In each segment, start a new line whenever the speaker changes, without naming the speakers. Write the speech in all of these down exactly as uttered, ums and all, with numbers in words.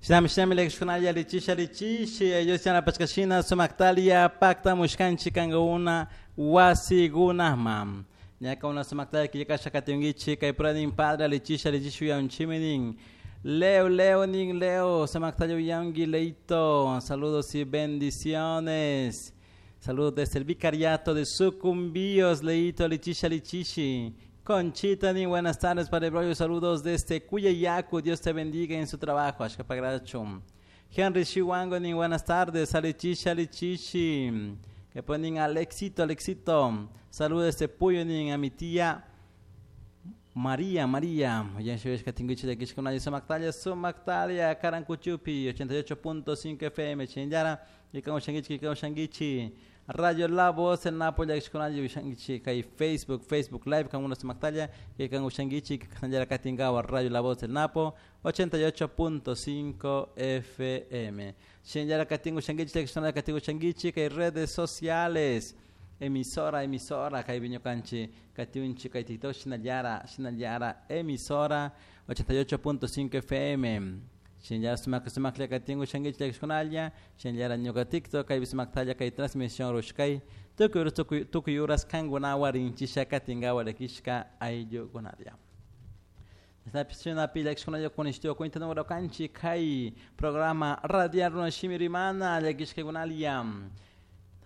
Shinami shinami llakishkunalla alichisha alichishi Dios yanapashkashina sumaktalia paktamushkanchik kankuna wasikunaman. Ñaka una sumaktalia killkasha katinkichik kay puranin padre alichisha alichisha uyanchimi nin. Leo, Leo, nin Leo, sumaktalia uyanki Leito, saludos y bendiciones. Saludos desde el vicariato de Sucumbíos, Leito, alichisha alichishi. Conchita, ni buenas tardes, Padre Braulio, saludos desde Cuyayacu, Dios te bendiga en su trabajo, Ashkapagrachum. Henry Chihuango, ni buenas tardes, alichishi, alichishi. Que ponen Alexito, Alexito, saludos desde Puyo, ni a mi tía María, María. Sumaktalia, Karancuchupi, ochenta y ocho punto cinco F M, Chingyara, Ikaushangichi, Ikaushangichi. Radio La Voz en Nápoles, Kai Facebook, Facebook Live, con unos Sumaktalia, Ikaushangichi, Kanjara Katingawa, Radio La Voz del Napo, ochenta y ocho punto cinco F M. Chingyara Katingushangichi, Katingushangichi, Kai redes sociales. Emisora, emisora, kai viñokanchi, katiunchi, kai TikTok, shinallara, shinallara, emisora, ochenta y ocho punto cinco F M. Shinallara sumak, sumak, le katingu, shangichi, le kishkunalla, shinallara ñuka TikTok, kai bisumaktalla, kai transmisión rushkai, tukuy uras, tukuy, tukuy uras, kangunawa, rinchisha, katingawa, le kishka, ayllukunaria. Shina pila kishkunalla, kunishtio, cuenta número kanchi, kai, programa radial runashimirimana, le kishkakunalia.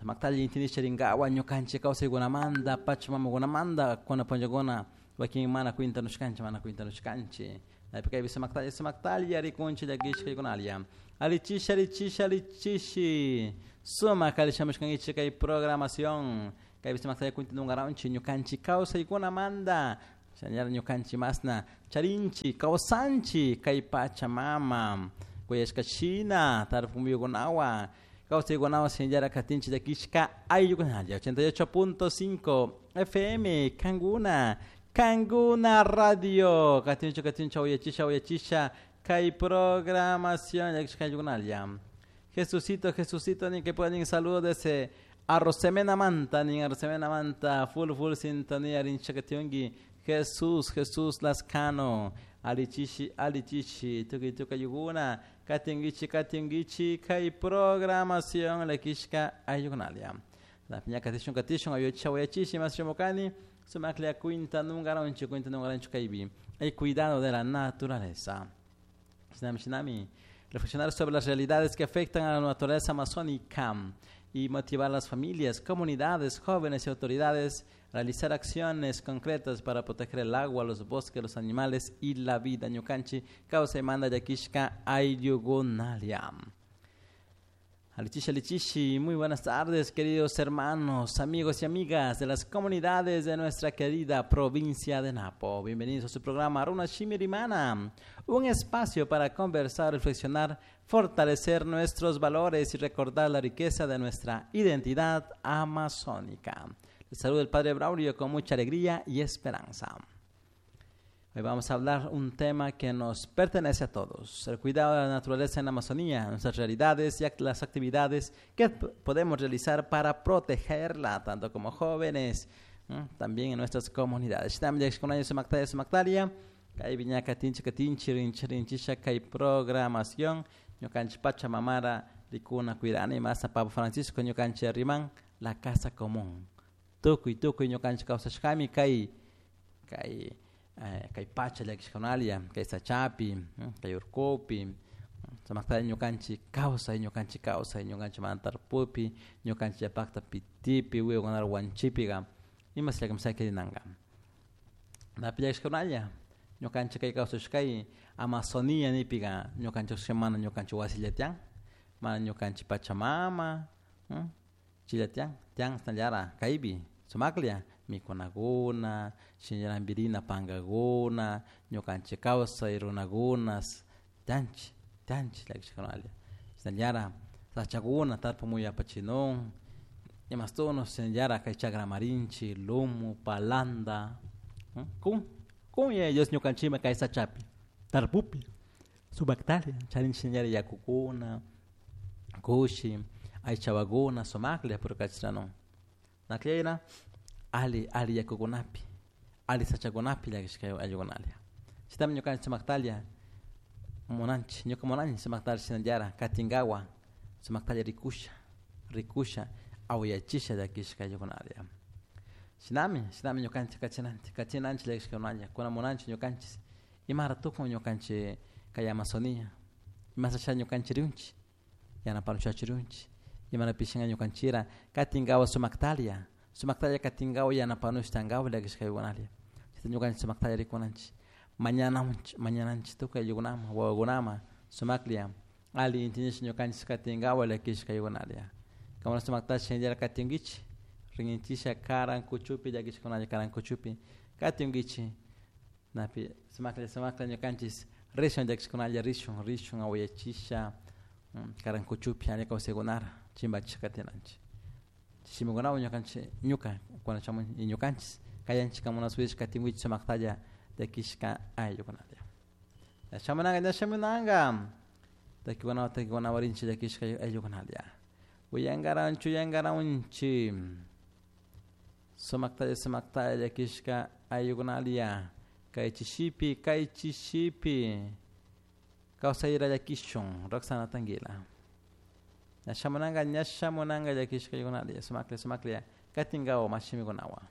Maktali intinisha ringawa ñukanchik kawsaykunamanta pachamamakunamanta kuna punllakuna wakin mana cuenta nushkanchik mana cuenta nushkanchik kaypi sumaktalla sumaktalla rikunchik llakishkaykunalla alichisha alichisha alichishi sumak alishamushkankichik kay programación kaypi sumaktalla cuenta nunkaranchik ñukanchik kawsaykunamanta shinallara ñukanchik masna charinchik kawsanchik kay pachamama kuyashkashina tarpumuyukunawan kawsaykunawan shinallara katinchik llakishka ayllukunalla ochenta y ocho punto cinco F M Kanguna Kanguna Radio katincho katincho uyachisha uyachisha kay programación llakishka ayllukunalla Jesucito Jesucito ni que pueden saludo desde Arrosemena Manta ni Arrosemena Manta full full sintonía rinchakationgi Jesús Jesús Lascano alichishi alichishi tuki tuka yuguna katingichi katingichi kay programación llakishka ayllukunalia la piña katishun katishun ayocha wayachishi mas shomokani sumaklia cuinta nungaronchi cuinta nungaronchi kaybi el cuidado de la naturaleza. Shinami shinami reflexionar sobre las realidades que afectan a la naturaleza amazónica y motivar a las familias, comunidades, jóvenes y autoridades a realizar acciones concretas para proteger el agua, los bosques, los animales y la vida. Ñukanchi, causa y manda yakishka ayllukunalia. Alichishi, alichishi, muy buenas tardes, queridos hermanos, amigos y amigas de las comunidades de nuestra querida provincia de Napo. Bienvenidos a su programa Runa Shimirimana, un espacio para conversar, reflexionar, fortalecer nuestros valores y recordar la riqueza de nuestra identidad amazónica. Les saluda el Padre Braulio con mucha alegría y esperanza. Hoy vamos a hablar un tema que nos pertenece a todos, el cuidado de la naturaleza en la Amazonía, nuestras realidades y las actividades que podemos realizar para protegerla, tanto como jóvenes, ¿m? también en nuestras comunidades. Programación, ñukanchik Pachamamara, rikuna cuidana y más Papa Francisco, ñukanchik riman, la casa común. Tukuy, tukuy, ñukanchik kawsashkami, kay, kay, Eh, kay pacha llakishkunalia, kay sachapi, kay urkupi, sumaktalla ñukanchik kawsay, ñukanchik kawsay, ñukanchik mantarpupi, ñukanchik llapakta pitipi, wiwakunara wanchipiqa, imas llakamsakirinanqa. Napi llakishkunalla, ñukanchik kay kawsashkay Amazonía nipiqa, ñukanchik mana ñukanchik wasilla tiyan, mana ñukanchik pachamama, chilla tiyan, tiyan shinallara kaypi, sumaklla, mikunakuna, shinallara pankakuna, ñukanchik kawsay runakunas, tianchi, tianchi llakishkunalla. Shinallara sachakuna tarpumuy apachinun, imastuno shinallara kay chakramarinchik, lumu, palanda, kun, kun Dios ñukanchikman kay sachapi, tarpupi, sumaktalia, charinchik shinallara yakukuna, kushi, aychawakuna, sumaklla purkachranun. Nakllayna ali, ali yakukunapi, ali sachakunapi llakishka ayllukunalia. Chaytami ñukanchik sumaktalia Munanchik ñuka munani sumaktalla shinallara katinkawa sumaktalla rikusha rikusha awayachisha llakishka ayllukunalla shinami shinami ñukanchik kachinanchik kachinanchik llakishkakunalla kuna munanchik ñukanchik imara tukun ñukanchik kay Amazonía imasha ñukanchik rinchik yanapanuchachu rinchik imanapishinka ñukanchira katinkawa sumaktalla sumaktalla katinkawa yanapanushtankawa llakishkaykunalla chayta ñukanchik sumaktalla rikunanchik mañananchik mañananchik tukuy ayllukunaman wawakunaman sumaklla alli intindish ñukanchik katinkawa llakishkaykunalla kankuna sumaktash shinallara katinkichik rinkinchisha karan kuchupi llakishkunalla karan kuchupi katinkichik napi sumaklla sumaklla ñukanchik rishun llakishkunalla rishun rishun awayachisha karan kuchupi alli kawsaykunara chimpachish katinanchik shimikunawan ñukanchik ñuka kuna shamun y ñukanchik kayanchik kankuna suyush katinkichik sumaktalla llakishka ayllukunalla shamunanka ña shamunanka takikunawan takikunawan rinchik llakishka ayllukunalla uyankaranchik uyankaranchik sumaktalla sumaktalla llakishka ayllukunalla kay chishipi kay chishipi kawsayra llakishun Roxana Tanguila ña shamunanka ña shamunanka llakishka ayllukunalla sumaklla sumaklla katinkawa mashimikunawan.